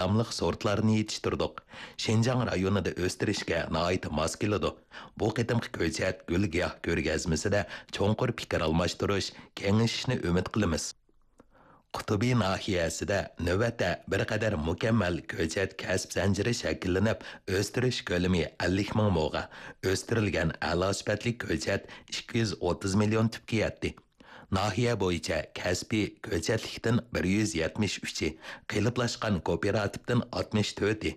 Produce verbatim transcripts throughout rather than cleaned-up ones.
داۋاملىق سورتلارنى يېتىشتۈردۇق. شىنجاڭ رايونىدا ئۆستۈرۈشكە ناھايىتى ماس كېلىدۇ. بۇ قېتىمقى كۆچەت گۈل-گىياھ كۆرگەزمىسىدە چوڭقۇر پىكىر ئالماشتۇرۇش، كېڭىشىشنى ئۈمىد قىلىمىز. قۇتۇبى ناھىيەسىدە نۆۋەتتە بىر قەدەر مۇكەممەل كۆچەت كەسىپ زەنجىرى شەكىللىنىپ، ئۆستۈرۈش كۆلىمى ئەللىك مىڭ موغا، ئۆستۈرۈلگەن ئەلا سۈپەتلىك كۆچەت ئىككى يۈز ئوتتۇز مىليون تۈپكە يەتتى. ناھىيە بويىچە كەسپىي كۆچەتلىكتىن بىر يۈز يەتمىش ئۈچى، قېلىپلاشقان كوپىراتىپتىن ئاتمىش تۆتى،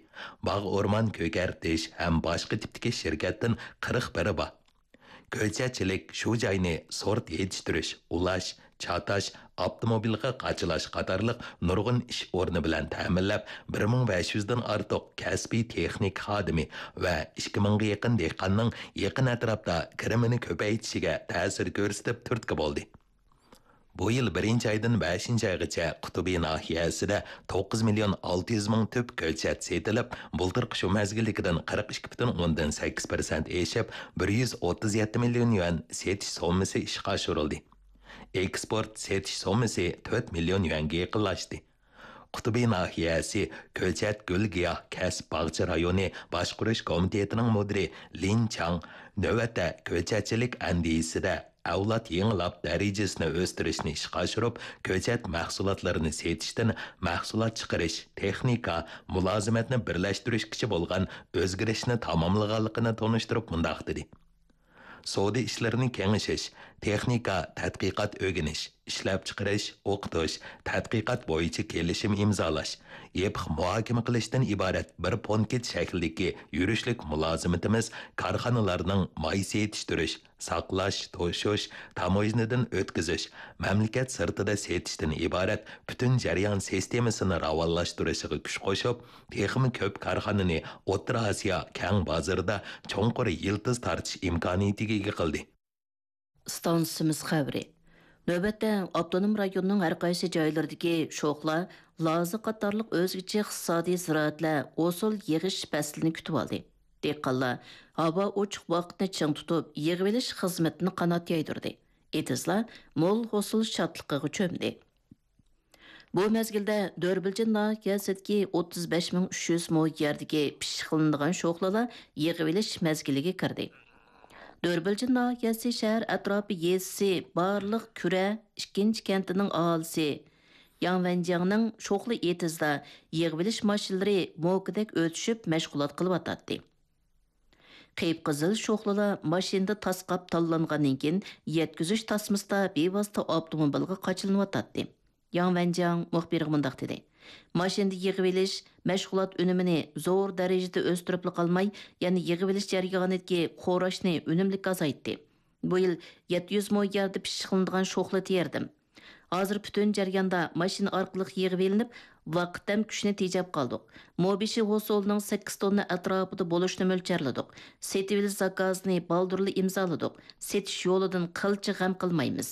باغ ئورمان كۆكەرتىش ھەم باشقا تىپتىكى شىركەتتىن قىرىق بىرى بار. كۆچەتچىلىك شۇ جاينى سورت يېتىشتۈرۈش، ئۇلاش، چاتاش، ئاپتوموبىلغا قاچىلاش قاتارلىق نۇرغۇن ئىش ئورنى بىلەن تەمىنلەپ، بىر مىڭ بەش يۈزدىن ئارتۇق كەسپىي تېخنىكا خادىمى ۋە ئىككى مىڭغا يېقىن دېھقاننىڭ يېقىن ئەتراپتا كىرىمىنى كۆپەيتىشىگە تەسىر كۆرسىتىپ تۈرتكە بولدى. بۇ يىل بىرىنچى ئايدىن بەشىنچى ئايغىچە قۇتۇبى ناھىيەسىدە توققۇز مىليون ئالتە يۈز مىڭ تۈپ كۆچەت سېتىلىپ، بۇلتۇرقى شۇ مەزگىلدىكىدىن قىرىق ئىككى پۈتۈن ئوندىن سەككىز پىرسەنت ئېشىپ، بىر يۈز ئوتتۇز يەتتە مىليون يۈەن سېتىش سوممىسى ئىشقا ئاشۇرۇلدى. ئېكسپورت سېتىش سوممىسى تۆت مىليون يۈەنگە يېقىنلاشتى. قۇتۇبى ناھىيەسى كۆچەت گۈل-گىياھ كەسىپ باغچە رايونى باشقۇرۇش كومىتېتىنىڭ مۇدىرى لىن چاڭ نۆۋەتتە كۆچەتچىلىك ئەندىزىسىدە ئەۋلاد يېڭىلاپ دەرىجىسىنى ئۆستۈرۈشنى ئىشقا ئاشۇرۇپ، كۆچەت مەھسۇلاتلىرىنى سېتىشتىن مەھسۇلات چىقىرىش، تېخنىكا، مۇلازىمەتنى بىرلەشتۈرۈشكىچە بولغان ئۆزگىرىشنى تاماملىغانلىقىنى تونۇشتۇرۇپ مۇنداق دېدى: سودا ئىشلىرىنى كېڭىشىش، تېخنىكا، تەتقىقات، ئۆگىنىش، ئىشلەپچىقىرىش، ئوقۇتۇش، تەتقىقات بويىچە كېلىشىم ئىمزالاش، يېپىق مۇھاكىمە قىلىشتىن ئىبارەت بىر پونكىت شەكلىدىكى يۈرۈشلۈك مۇلازىمىتىمىز كارخانىلارنىڭ ماي سېتىشتۈرۈش، ساقلاش، توشۇش، تاموژنىدىن ئۆتكۈزۈش، مەملىكەت سىرتىدا سېتىشتىن ئىبارەت پۈتۈن جەريان سىستېمىسىنى راۋانلاشتۇرۇشىغا كۈچ قوشۇپ، تېخىمۇ كۆپ كارخانىنى ئوتتۇرا ئاسىيا كەڭ بازىرىدا چوڭقۇر يىلتىز تارتىش ئىمكانىيىتىگە ئىگە قىلدى. ئىستانسىمىز خەۋىرى. نۆۋەتتە ئاپتونوم رايوننىڭ ھەر قايسى جايلىرىدىكى شوخلا، لازا قاتارلىق ئۆزگىچە ئىقتىسادىي زىرائەتلەر ھوسۇل يىغىش پەسلىنى كۈتۈۋالدى. دېھقانلار ھاۋا ئوچۇق ۋاقىتنى چىڭ تۇتۇپ، يىغىۋېلىش خىزمىتىنى قانات يايدۇردى. ئېتىزلار مول ھوسۇل شادلىقىغا چۆمدى. بۇ مەزگىلدە دۆربىلجىن ناھىيەسىدىكى ئوتتۇز بەش مىڭ ئۈچ يۈز مو يەردىكى پىششىقلىنىدىغان شوخلىلار يىغىۋېلىش مەزگىلىگە كىردى. دۆربىلجىن ناھىيەسى شەھەر ئەتراپى يېزىسى بارلىق كۈرە، ئىككىنچى كەنتىنىڭ ئاھالىسى ياڭ ۋەنجياڭنىڭ شوخلا ئېتىزىدا يىغىۋېلىش ماشىنىلىرى موكىدەك ئۆتۈشۈپ مەشغۇلات قىلىۋاتاتتى. قىپقىزىل شوخلىلار ماشىنىدا تاسقاپ تاللانغاندىن كېيىن، يەتكۈزۈش تاسمىسىدا بىۋاسىتە ئاپتوموبىلغا قاچىلىنىۋاتاتتى. ياڭ ۋەنجياڭ مۇخبىرغا مۇنداق دېدى: ماشىنىدا يىغىۋېلىش، مەشغۇلات ئۈنۈمىنى زور دەرىجىدە ئۆستۈرۈپلا قالماي، يەنە يىغىۋېلىش جەريانىدىكى خوراشنى ئۈنۈملۈك ئازايتتى. بۇ يىل يەتتە يۈز مو يەردە پىششىقلىنىدىغان شوخلا تېرىدىم. ھازىر پۈتۈن جەرياندا ماشىنا ئارقىلىق يىغىۋېلىنىپ، ۋاقىت ھەم كۈچنى تېجەپ قالدۇق. مو بېشى ھوسۇلىنىڭ سەككىز توننا ئەتراپىدا بولۇشىنى مۆلچەرلىدۇق. سېتىۋېلىش زاكازىنى بالدۇرلا ئىمزالىدۇق. سېتىش يولىدىن قىلچە غەم قىلمايمىز.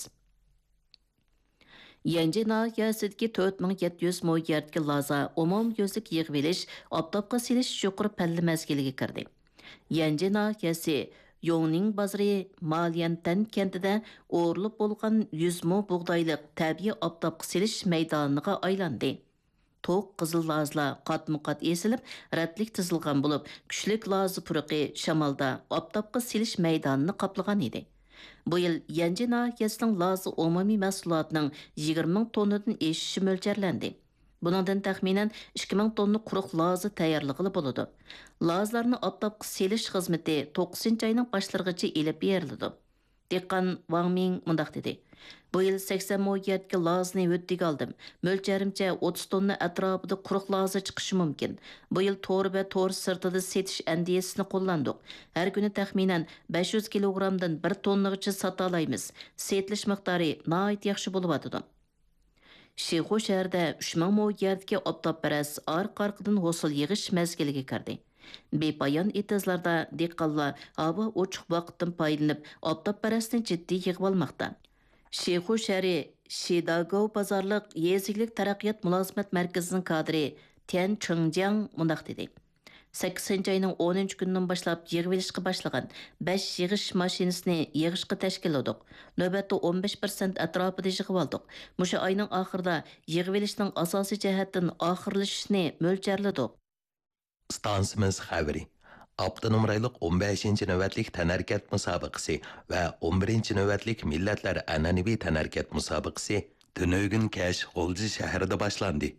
يەنجى ناھىيەسىدىكى تۆت مىڭ يەتتە يۈز مو يەردىكى لازا ئومۇميۈزلۈك يىغىۋېلىش، ئاپتاپقا سېلىش يۇقىرى پەللە مەزگىلىگە كىردى. يەنجى ناھىيەسى يوڭنىڭ بازىرى ماليەنتەن كەنتىدە ئورۇلۇپ بولغان يۈز مو بۇغدايلىق تەبىئىي ئاپتاپقا سېلىش مەيدانىغا ئايلاندى. توق قىزىل لازىلار قاتمۇ قات ئېسىلىپ، رەتلىك تىزىلغان بولۇپ، كۈچلۈك لازا پۇرىقى شامالدا ئاپتاپقا سېلىش مەيدانىنى قاپلىغان ئىدى. بۇ يىل يەنجى ناھىيەسىنىڭ لازا ئومۇمىي مەھسۇلاتىنىڭ يىگىرمە مىڭ توننىدىن ئېشىشى مۆلچەرلەندى. بۇنىڭدىن تەخمىنەن ئىككى مىڭ توننا قۇرۇق لازا تەييارلىغىلى بولىدۇ. لازىلارنى ئاپتاپقا سېلىش خىزمىتى توققۇزىنچى ئاينىڭ باشلىرىغىچە ئېلىپ بېرىلىدۇ. دېھقان ۋاڭ مىڭ مۇنداق دېدى: بۇ يىل سەكسەن مو يەردىكى لازىنى ھۆددىگە ئالدىم. مۆلچەرىمچە ئوتتۇز توننا ئەتراپىدا قۇرۇق لازا چىقىشى مۇمكىن. بۇ يىل تور ۋە تور سىرتىدا سېتىش ئەندىزىسىنى قوللاندۇق. ھەر كۈنى تەخمىنەن بەش يۈز كىلوگرامدىن بىر توننىغىچە ساتالايمىز. سېتىلىش مىقدارى ناھايىتى ياخشى بولۇۋاتىدۇ. شىخۇ شەھىرىدە ئۈچ مىڭ مو يەردىكى ئاپتاپپەرەس ئارقا-ئارقىدىن ھوسۇل يىغىش مەزگىلىگە كىردى. بىپايان ئېتىزلاردا دېھقانلار ھاۋا ئوچۇق ۋاقىتتىن پايدىلىنىپ، ئاپتاپپەرەسنى جىددىي يىغىۋالماقتا. شىخۇ شەھىرى شىداگوۋ بازارلىق يېزا ئىگىلىك تەرەققىيات مۇلازىمەت مەركىزىنىڭ كادىرى تيەن چېڭجياڭ مۇنداق دېدى: سەككىزىنچى ئاينىڭ ئونىنچى كۈنىدىن باشلاپ يىغىۋېلىشقا باشلىغان بەش يىغىش ماشىنىسىنى يىغىشقا تەشكىللىدۇق. نۆۋەتتە ئون بەش پىرسەنت ئەتراپىدا يىغىۋالدۇق. مۇشۇ ئاينىڭ ئاخىرىدا يىغىۋېلىشنىڭ ئاساسىي جەھەتتىن ئاخىرلىشىشىنى مۆلچەرلىدۇق. ئىستانسىمىز خەۋىرى. ئاپتونوم رايونلۇق ئون بەشىنچى نۆۋەتلىك تەنھەرىكەت مۇسابىقىسى ۋە ئون بىرىنچى نۆۋەتلىك مىللەتلەر ئەنئەنىۋى تەنھەرىكەت مۇسابىقىسى تۈنۈگۈن كەچ غۇلجا شەھىرىدە باشلاندى.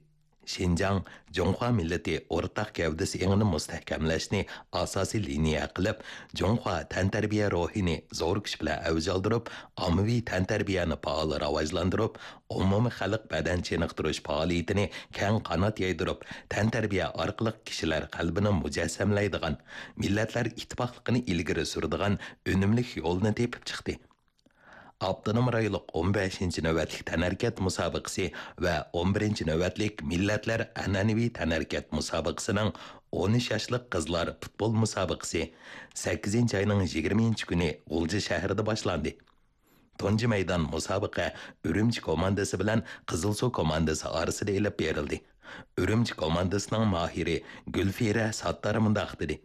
شىنجاڭ جۇڭخۇا مىللىتى ئورتاق گەۋدىسى ئېڭىنى مۇستەھكەملەشنى ئاساسىي لىنىيە قىلىپ، جۇڭخۇا تەنتەربىيە روھىنى زور كۈچ بىلەن ئەۋج ئالدۇرۇپ، ئاممىۋى تەنتەربىيەنى پائال راۋاجلاندۇرۇپ، ئومۇمىي خەلق بەدەن چېنىقتۇرۇش پائالىيىتىنى كەڭ قانات يايدۇرۇپ، تەنتەربىيە ئارقىلىق كىشىلەر قەلبىنى مۇجەسسەملەيدىغان، مىللەتلەر ئىتتىپاقلىقىنى ئىلگىرى سۈرىدىغان ئۈنۈملۈك يولنى تېپىپ چىقتى. ئاپتونوم رايونلۇق ئون بەشىنچى نۆۋەتلىك تەنھەرىكەت مۇسابىقىسى ۋە ئون بىرىنچى نۆۋەتلىك مىللەتلەر ئەنئەنىۋى تەنھەرىكەت مۇسابىقىسىنىڭ ئون ئۈچ ياشلىق قىزلار پۇتبول مۇسابىقىسى سەككىزىنچى ئاينىڭ يىگىرمىنچى كۈنى غۇلجا شەھىرىدە باشلاندى. تۇنجى مەيدان مۇسابىقە ئۈرۈمچى كوماندىسى بىلەن قىزىلسۇ كوماندىسى ئارىسىدا ئېلىپ بېرىلدى. ئۈرۈمچى كوماندىسىنىڭ ماھىرى گۈلفىرە ساتتار مۇنداق دېدى: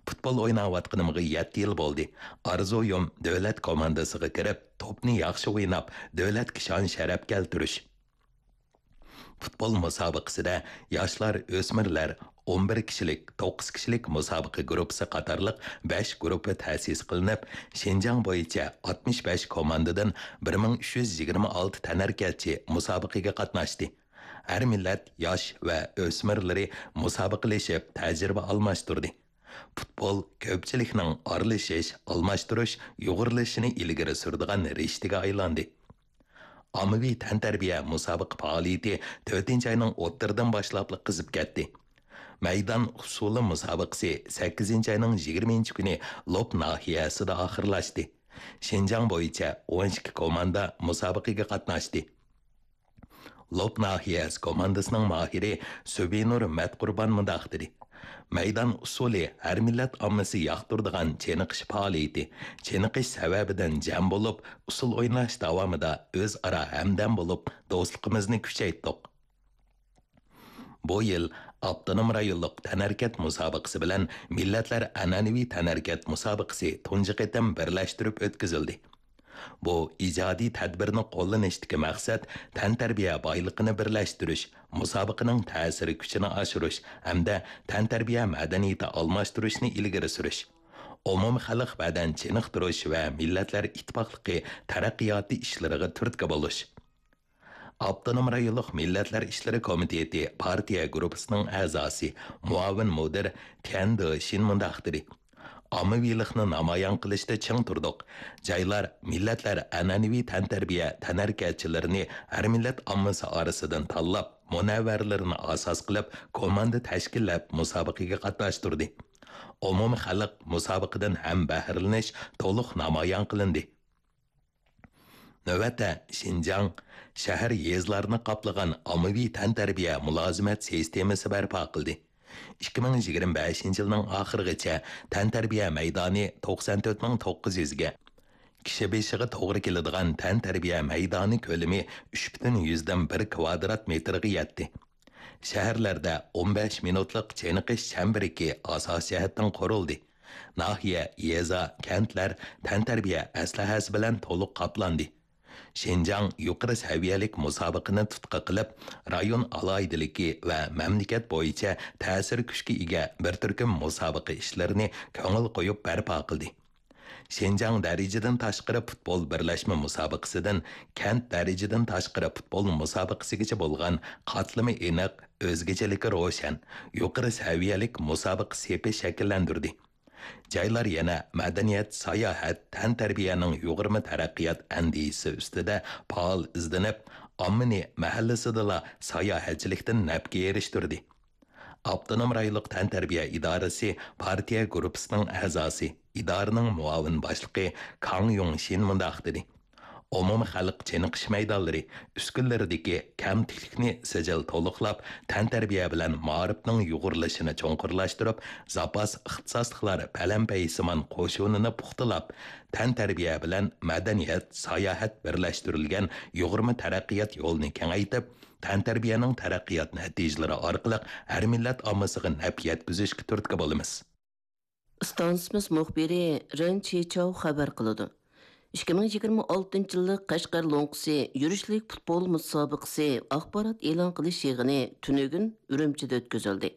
پۇتبول ئويناۋاتقىنىمغا يەتتە يىل بولدى. ئارزۇيۇم دۆلەت كوماندىسىغا كىرىپ، توپنى ياخشى ئويناپ، دۆلەتكە شان-شەرەپ كەلتۈرۈش. پۇتبول مۇسابىقىسىدە ياشلار، ئۆسمۈرلەر، ئون بىر كىشىلىك، توققۇز كىشىلىك مۇسابىقە گۇرۇپپىسى قاتارلىق بەش گۇرۇپپا تەسىس قىلىنىپ، شىنجاڭ بويىچە ئاتمىش بەش كوماندىدىن بىر مىڭ ئۈچ يۈز يىگىرمە ئالتە تەنھەرىكەتچى مۇسابىقىگە قاتناشتى. ھەر مىللەت ياش ۋە ئۆسمۈرلىرى مۇسابىقىلىشىپ تەجرىبە ئالماشتۇردى. پۇتبول كۆپچىلىكنىڭ ئارىلىشىش، ئالماشتۇرۇش، يۇغۇرۇلۇشىنى ئىلگىرى سۈرىدىغان رىشتىگە ئايلاندى. ئاممىۋى تەنتەربىيە مۇسابىقە پائالىيىتى تۆتىنچى ئاينىڭ ئوتتۇرىدىن باشلاپلا قىزىپ كەتتى. مەيدان ئۇسسۇلى مۇسابىقىسى سەككىزىنچى ئاينىڭ يىگىرمىنچى كۈنى لوپ ناھىيەسىدە ئاخىرلاشتى. شىنجاڭ بويىچە ئون ئىككى كوماندا مۇسابىقىگە قاتناشتى. لوپ ناھىيەسى كوماندىسىنىڭ ماھىرى سۈبىنۇر مەتقۇربان مۇنداق دېدى: مەيدان ئۇسسۇلى ھەر مىللەت ئاممىسى ياقتۇرىدىغان چېنىقىش پائالىيىتى. چېنىقىش سەۋەبىدىن جەم بولۇپ، ئۇسسۇل ئويناش داۋامىدا ئۆزئارا ھەمدەم بولۇپ، دوستلۇقىمىزنى كۈچەيتتۇق. بۇ يىل ئاپتونوم رايونلۇق تەنھەرىكەت مۇسابىقىسى بىلەن مىللەتلەر ئەنئەنىۋى تەنھەرىكەت مۇسابىقىسى تۇنجى قېتىم بىرلەشتۈرۈپ ئۆتكۈزۈلدى. بۇ ئىجادىي تەدبىرنى قوللىنىشتىكى مەقسەت تەنتەربىيە بايلىقىنى بىرلەشتۈرۈش، مۇسابىقىنىڭ تەسىر كۈچىنى ئاشۇرۇش ھەمدە تەنتەربىيە مەدەنىيىتى ئالماشتۇرۇشنى ئىلگىرى سۈرۈش، ئومۇمخەلق بەدەن چېنىقتۇرۇش ۋە مىللەتلەر ئىتتىپاقلىقى تەرەققىياتى ئىشلىرىغا تۈرتكە بولۇش. ئاپتونوم رايونلۇق مىللەتلەر ئىشلىرى كومىتېتى پارتىيە گۇرۇپپىسىنىڭ ئەزاسى، مۇئاۋىن مۇدىر تيەن دېشىن مۇنداق دېدى: ئاممىۋىلىقنى نامايان قىلىشتا چىڭ تۇردۇق. جايلار، مىللەتلەر ئەنئەنىۋى تەنتەربىيە تەنھەرىكەتچىلىرىنى ھەر مىللەت ئاممىسى ئارىسىدىن تاللاپ، مۇنەۋۋەرلىرىنى ئاساس قىلىپ، كوماندا تەشكىللەپ مۇسابىقىگە قاتناشتۇردى. ئومۇمىي خەلق مۇسابىقىدىن ھەم بەھرىلىنىش تولۇق نامايان قىلىندى. نۆۋەتتە شىنجاڭ شەھەر، يېزىلارنى قاپلىغان ئاممىۋى تەنتەربىيە مۇلازىمەت سىستېمىسى بەرپا قىلدى. ئىككى مىڭ يىگىرمە بەشىنچى يىلنىڭ ئاخىرىغىچە تەنتەربىيە مەيدانى توقسان تۆت مىڭ توققۇز يۈزگە، كىشى بېشىغا توغرا كېلىدىغان تەنتەربىيە مەيدانى كۆلىمى ئۈچ پۈتۈن يۈزدىن بىر كىۋادرات مېتىرغا يەتتى. شەھەرلەردە ئون بەش مىنۇتلۇق چېنىقىش چەمبىرىكى ئاساسىي جەھەتتىن قۇرۇلدى. ناھىيە، يېزا، كەنتلەر تەنتەربىيە ئەسلىھەسى بىلەن تولۇق قاپلاندى. شىنجاڭ يۇقىرى سەۋىيەلىك مۇسابىقىنى تۇتقا قىلىپ، رايون ئالاھىدىلىكى ۋە مەملىكەت بويىچە تەسىر كۈچكە ئىگە بىر تۈركۈم مۇسابىقە ئىشلىرىنى كۆڭۈل قويۇپ بەرپا قىلدى. شىنجاڭ دەرىجىدىن تاشقىرى پۇتبول بىرلەشمە مۇسابىقىسىدىن كەنت دەرىجىدىن تاشقىرى پۇتبول مۇسابىقىسىگىچە بولغان قاتلىمى ئېنىق، ئۆزگىچىلىكى روشەن، يۇقىرى سەۋىيەلىك مۇسابىقە سېپى شەكىللەندۈردى. جايلار يەنە مەدەنىيەت، ساياھەت، تەنتەربىيەنىڭ يۇغۇرما تەرەققىيات ئەندىزىسى ئۈستىدە پائال ئىزدىنىپ، ئاممىنى مەھەللىسىدىلا ساياھەتچىلىكتىن نەپكە ئېرىشتۈردى. ئاپتونوم رايونلۇق تەنتەربىيە ئىدارىسى پارتىيە گۇرۇپپىسىنىڭ ئەزاسى، ئىدارىنىڭ مۇئاۋىن باشلىقى كاڭ يۇڭشىن مۇنداق دېدى: ئومۇمىي خەلق چېنىقىش مەيدانلىرى ئۈسكۈنىلىرىدىكى كەمتۈكلۈكنى سىجىل تولۇقلاپ، تەنتەربىيە بىلەن مائارىپنىڭ يۇغۇرۇلۇشىنى چوڭقۇرلاشتۇرۇپ، زاپاس ئىختىساسلىقلار پەلەمپەيسىمان قوشۇنىنى پۇختىلاپ، تەنتەربىيە بىلەن مەدەنىيەت، ساياھەت بىرلەشتۈرۈلگەن يۇغۇرما تەرەققىيات يولىنى كېڭەيتىپ، تەنتەربىيەنىڭ تەرەققىيات نەتىجىلىرى ئارقىلىق ھەر مىللەت ئاممىسىغا نەپ يەتكۈزۈشكە تۈرتكە بولىمىز. ئىستانسىمىز مۇخبىرى رېن چىچاۋ خەۋەر قىلىدۇ. ئىككى مىڭ يىگىرمە ئالتىنچى يىللىق قەشقەر لوڭقىسى يۈرۈشلۈك پۇتبول مۇسابىقىسى ئاخبارات ئېلان قىلىش يىغىنى تۈنۈگۈن ئۈرۈمچىدە ئۆتكۈزۈلدى.